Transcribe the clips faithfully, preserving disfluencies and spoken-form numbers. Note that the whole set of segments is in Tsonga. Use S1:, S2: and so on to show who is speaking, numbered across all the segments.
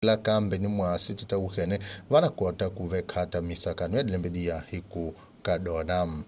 S1: La kambe ni mwasi ti ta wukhene va na kota ku vekhata misakano ya dilembe diya hi ku ka dona.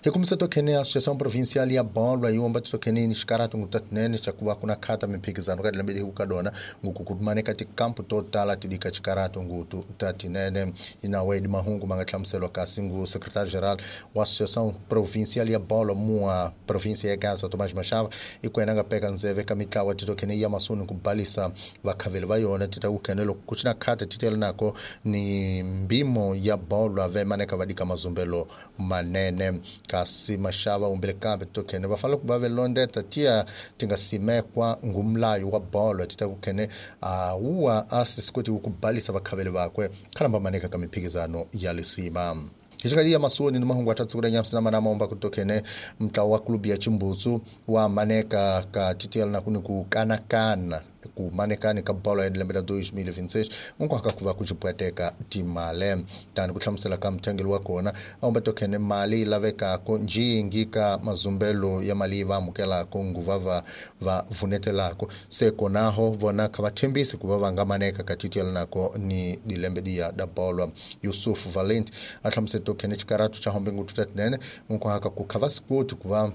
S1: Hi kumisa tokhene Associação Provincial ya Bola yi womba titokhene ni xikaratu ngutatinene xa ku va ku na khata mimphikizano ka dilembe hi ku ka dona nguku ku maneka tikampu to tala ti dika xikaratu ngutu ta tinene. Inawe di mahungu ma nga hlamuseliwa kasi ngu secrétaire geral wa Associação Provincial ya Bola mua província ya Gaza Tomás Machava i ku yena nga peka ndzeve ka mitlawa titokhene ya masuni ku balisa vakhaveli va yona ti ta ku khene loko ku cina khata ti tele nako ni mbimo ya bola ve maneka va dika mazumbelo manene. Kasi Mashava umbile kambe tokhene va fanele ku va velondeta tiya ti nga simekwa ngumlayo wa bolo ti ta ku khene a wuwa a sisikoti ku balisa vakhaveli vakwe khalamba maneka ka mimphikizano ya lisima. Hi xikati ya masoni ni mahungu a tsukula nyamsi na manama omba ku tokhene mntlawa wa klubu ya Chimbutsu wa maneka ka titiyela na kuni ku kanakana ku manekani ka bolo ya lembe la dois mil e vinte e seis unkwaka ku va ku cipweteka timale tani ku hlamusela ka muthengeli wa kona a omba tokhene mali yi lavekako njingi ka mazumbelo ya mali yi va amukelako nguva va va vunetelako se konaho vona kha va thembisi ku va va nga maneka ka titiyela nako ni dilembe diya da bolo. Yusuf Valent a hlamusela tokhene xikaratu xa hombe ngutu ta tinene unkwaka ku kha va sikoti ku va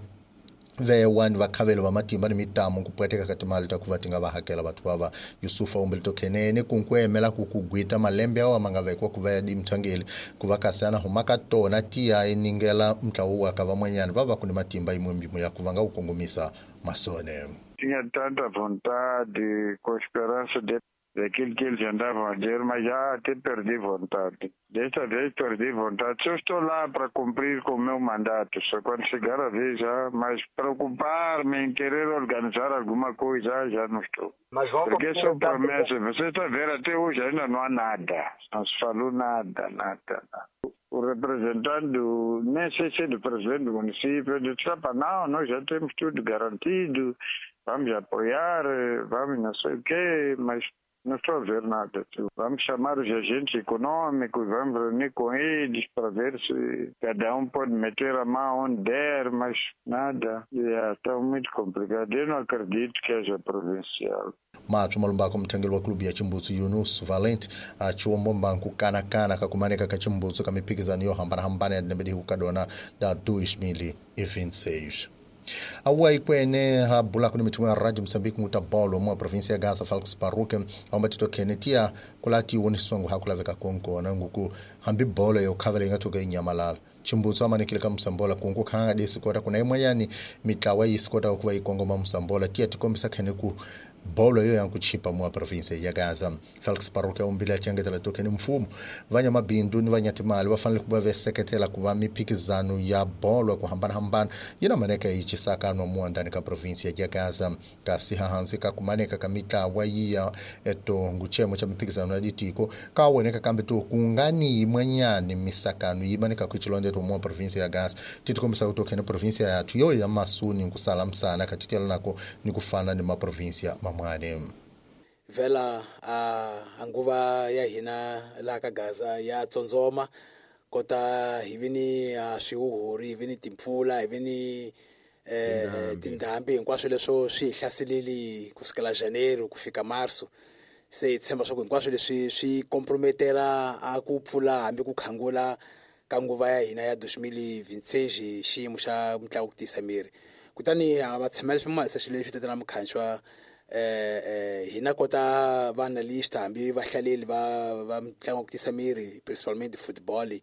S1: ve wani vakhaveli va matimba ni mitamo ku pweteka ka timali ta ku va ti nga va hakela vathu va va Yusufa umbile tokhenene ku nkwemela ku ku gwita malembe awa ma nga vekiwa ku va ya dimthangeli ku va kasi ana huma ka tona tiya iningela mntlawa wa ka van'wanyana va va ku ni matimba yin'we mbimo ya ku va nga wu kongomisa masone.
S2: Tinha tanta vontade com esperança de daquilo que eles andavam a dizer, mas já até perdi vontade. Desta vez perdi vontade. Só estou lá para cumprir com o meu mandato. Só quando chegar a vez já, mas preocupar-me em querer organizar alguma coisa, já não estou.
S3: Mas vão
S2: Porque são promessas. Você está vendo, até hoje ainda não há nada. Não se falou nada, nada, nada. O representante do, nem sei se é do presidente do município, disse, não, nós já temos tudo garantido, vamos apoiar, vamos não sei o quê, mas não estou a ver nada. Vamos chamar os agentes econômicos, vamos reunir com eles para ver se cada um pode meter a mão onde der, mas nada. Yeah, está muito complicado. Eu não acredito que haja provincial.
S1: Matsho malumbako muthengeli wa klubu ya Chimbutsu Yunus Valent a chiwombomba nkukanakana ka kumaneka ka Chimbutsu ka mimphikizano yo hambanahambana ya dilembe dihi kadona da dois mil e vinte e seis. Awa ikwene ha bula kuni mithumo ya Radio Mozambique nguta bolo mo província ya Gaza Falcos Parruque amba titokhene tiya kulati wonisongo hakulaveka konkona nguku hambi bolo yo khavela ingathuka inyamalala Chimbutsu amanekile ka Msambola kungu khanga desikota kuna imwanyani mitlawa yisikota kuva ikongoma Msambola tiya tikombisa khene ku bolo yo yankuchipa mua província ya Gaza. Felix Parruque umbile achengetela tokhene mfumo vanyamabindu ni vanyatimali va fanele ku va veseketela ku va mimphikizano ya bolo ku hambanahambana yi na maneka yi cisakano mua ndani ka província ya Gaza. Kasi hahansi ka kumaneka ka mitlawa yiya eto nguchemo cha mimphikizano ya ditiko ka woneka kambe to kungani yimwanyani misakano yi maneka ku chilondeto mua província ya Gaza titikombisa ku tokhene província yathu yo ya masuni nkusala msana katitela nako ni kufana ni maprovíncia mamwane.
S4: Vela a nguva ya hina la ka Gaza ya tsondzoma kota hi vini a swihuhuri hi vini timpfula hi vini eh tindhambi hinkwaswo leswo swi hi hlaseleli kusukela Janeiro ku fika Marso. Se hi tshemba swa ku hinkwaswo leswi swi comprometera a ku pfula hambi ku khangula ka nguva ya hina ya dois mil e vinte e seis xiyimo xa mitlangu ku tiyisa miri. Kutani a matshemelo swi ma xilo leswi tatana mukhanxwa eh eh hina kota va analyst hambi vahlaleli va va mitlangu ku tiyisa miri principalmente football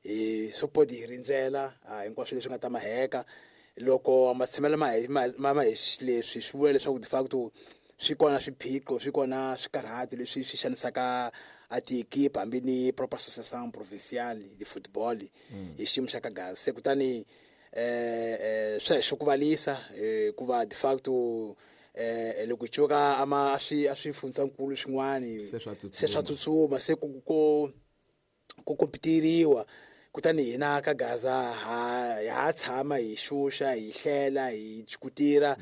S4: hi support hi rindzela hinkwaswo leswi nga ta maheka loko matshemelo ma ma ma hi leswi swi vula leswaku de facto swi kona swiphiqo swi kona swikarhati leswi swi xanisaka a tiekipa hambi ni proper association provincial de football hi xiyimo xa ka Gaza. Se kutani eh eh swa hi xukuvalisa hikuva de facto eh loko hi cuka ama a swi a swifundzankulu swin'wani se swa tsutsuma se ku ku ku kompitiriwa kutani hina ka Gaza ha ha tshama hi xuxa hi hlela hi chukutira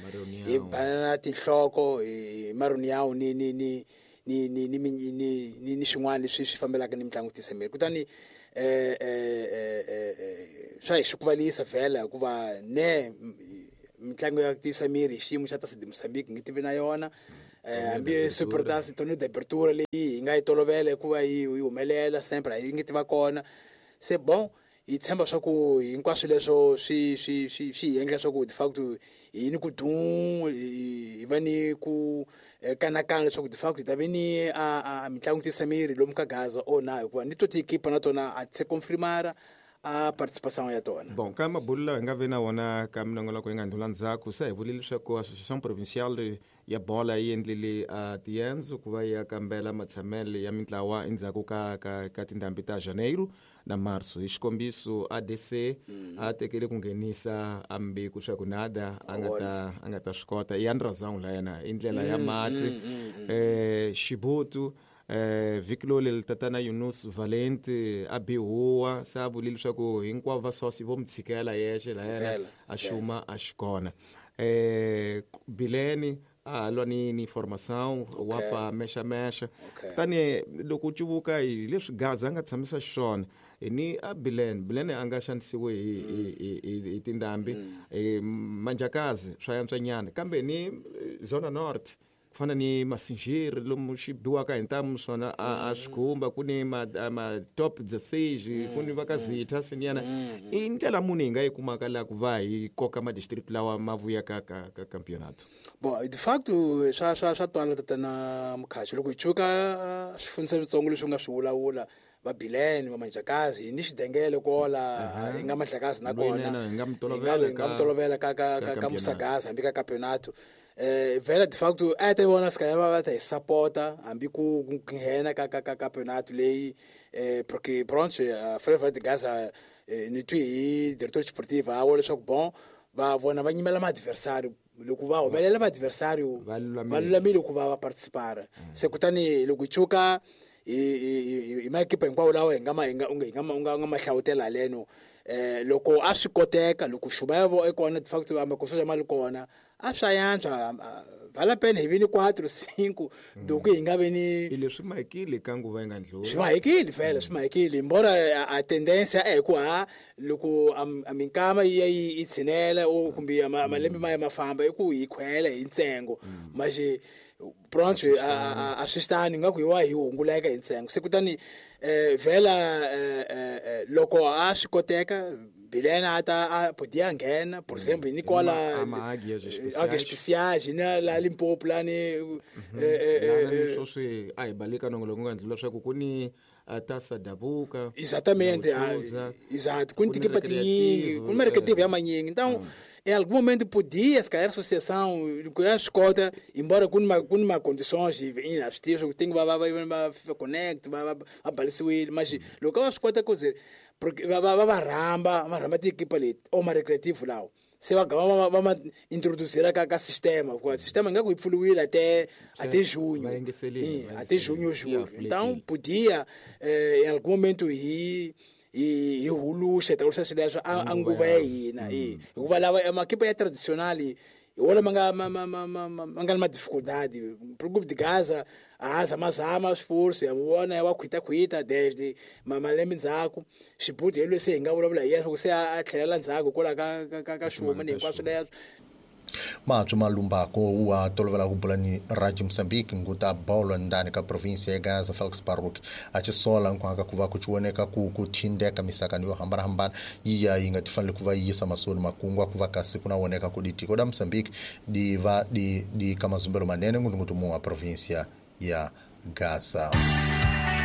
S4: hi banana tinhloko hi maruniyawu ni ni ni ni ni ni ni ni swin'wana leswi swi fambelaka ni mitlangu tisa miri. Kutani eh eh eh swa hi xukuvalisa vhela hikuva ne mitlangu ya tiyisa miri hi xiyimo xa Tasi de Mozambique ngi tivi na yona Hambi Supertaça torneio de abertura leyi hi nga yi tolovela hikuva yi yi humelela sempre a yi nge ti va kona. Se bon hi tshemba swa ku hinkwaswo leswo swi swi swi swi hi endla swa ku de facto hi ni ku dum hi va ni ku kanakana leswaku de facto hi ta ve ni a a mitlangu tisa miri lomu ka Gaza o na hikuva ni to tiekipa na tona a ti se confirmara a participação ya tona.
S3: Bon, ka mabulu lawa hi nga ve na wona ka minongonoko yi nga ndlula ndzhaku se hi vulile leswaku Associação Provincial ya bola yi endlile uh, tiendzo ku va ya kambela matshamelo ya mintlawa endzhaku ka ka ka tindhambi ta Janeiro na Março. Hi xikombiso A D C mm. a tekele ku nghenisa ambiku swa ku nada a nga ta a nga ta swi kota ya razão la yena i ndlela ya mati mm, mm, mm, eh Xibutu eh vhiki tatana Yunus Valente a bihuwa se a vulile leswaku hinkwavo va sosi vo mi tshikela yexe la yena a xuma a xikona eh Bileni a lwa ni ni formação wa pa mexa mexa tani loko u cuvuka hi leswi Gaza a nga tshamisa xiswona hi ni a Bileni Bileni a nga xanisiwi hi hi hi tindhambi Manjakazi swa yantswanyana kambe ni Zona Norte fana ni Masinjiri lomu xi biwaka hi ntamu swona a swi khumba ku ni ma, ma top dezesseis ku ni va ka Zitha siniyana i ndlela muni hi nga yi kumaka laha ku va hi koka ma-district lawa ma vuyaka ka ka campeonato.
S4: Bon, de facto swa swa swa twala tatana Mukhaxi loko hi cuka swifundza switsongo leswi u nga swi vulavula va Bileni va Manjakazi hi ni Xidengele kola hi nga Mandlakazi na kona
S3: hi nga mi
S4: tolovela ka ka ka Musagaza hambi ka campeonato. Eh vela de facto a ta vona ska va ta hi sapota hambi ku nghena ka ka ka campeonato leyi eh porque pronto a Ferroviário de Gaza ni twi hi diretor esportivo a vula leswaku bon va vona va nyimela ma adversário loko va humelela va adversário va lulamile ku va va participar. Se kutani loko hi cuka hi hi maekipa hinkwawo lawa hi nga ma hi nga hi nga nga ma hlawutela haleno eh loko a swi koteka loko xuba ya vo ekona de facto amakoso ya mali kona a swa yantswa vala pena hi vi ni quatro cinco do que hi nga ve ni
S3: hi leswi mahekile ka nguva yi nga ndlula
S4: swi mahekile vhele swi mahekile embora a tendência é ku ha loko a minkama yi ya yi tshinela o kumbe malembe ma ya ma famba i ku hi khwela hi ntsengo mas pronto a a swi tani nga ku hi wa hi hunguleka hi ntsengo se kutani eh vhela loko a swi koteka Bilena ata a podia nghena por exemplo Nicola águias especiais na la Limpopo la ni
S3: eh sweswi a hi baleka nongoloko nga ndlula leswaku ku ni Taça Dabuka
S4: exatamente exato ku ni tikipa tinyingi ku ni recreativo ya manyingi então em algum momento podia se calhar a associação ya swi kota embora ku ni ku ni ma condições inacessíveis tem que va va va FIFA Connect va va balisiwile mas loko va swi kota ku ze porque va va va rhamba va rhamba tiekipa leti o ma recreativo lawo se va gama va ma introduzira ka ka sistema hikuva sistema nga ku yi pfuriwile até até junho até junho julho então podia eh, em algum momento hi hi hi huluxa ta huluxa swileswo a nguva ya hina hikuva lava makipa ya tradicional hi wona ma nga ma ma ma ma ma nga na ma dificuldade pro grupo de Gaza a zamazama esforço ya vona ya wa khwita khwita desde malembe ndzhaku Xibuti hi lwe se hi nga vulavula hi yena se a tlhelela ndzhaku hikwalaho ka ka ka xuma ni hinkwaswo leswo.
S1: Matsho Malumbako wa tolovela ku bula ni Radio Moçambique nguta bolo ndani ka província ya Gaza Felix Baruch a ci sola nkwanga ku va ku cioneka ku ku thindeka misakani yo hambanahambana yi ya yi nga ti fanele ku va yisa masoni makungwa ku va kasi ku na woneka ku ditiko da Moçambique di va di di ka mazumbelo manene ngutungutumuwa província ya Gaza.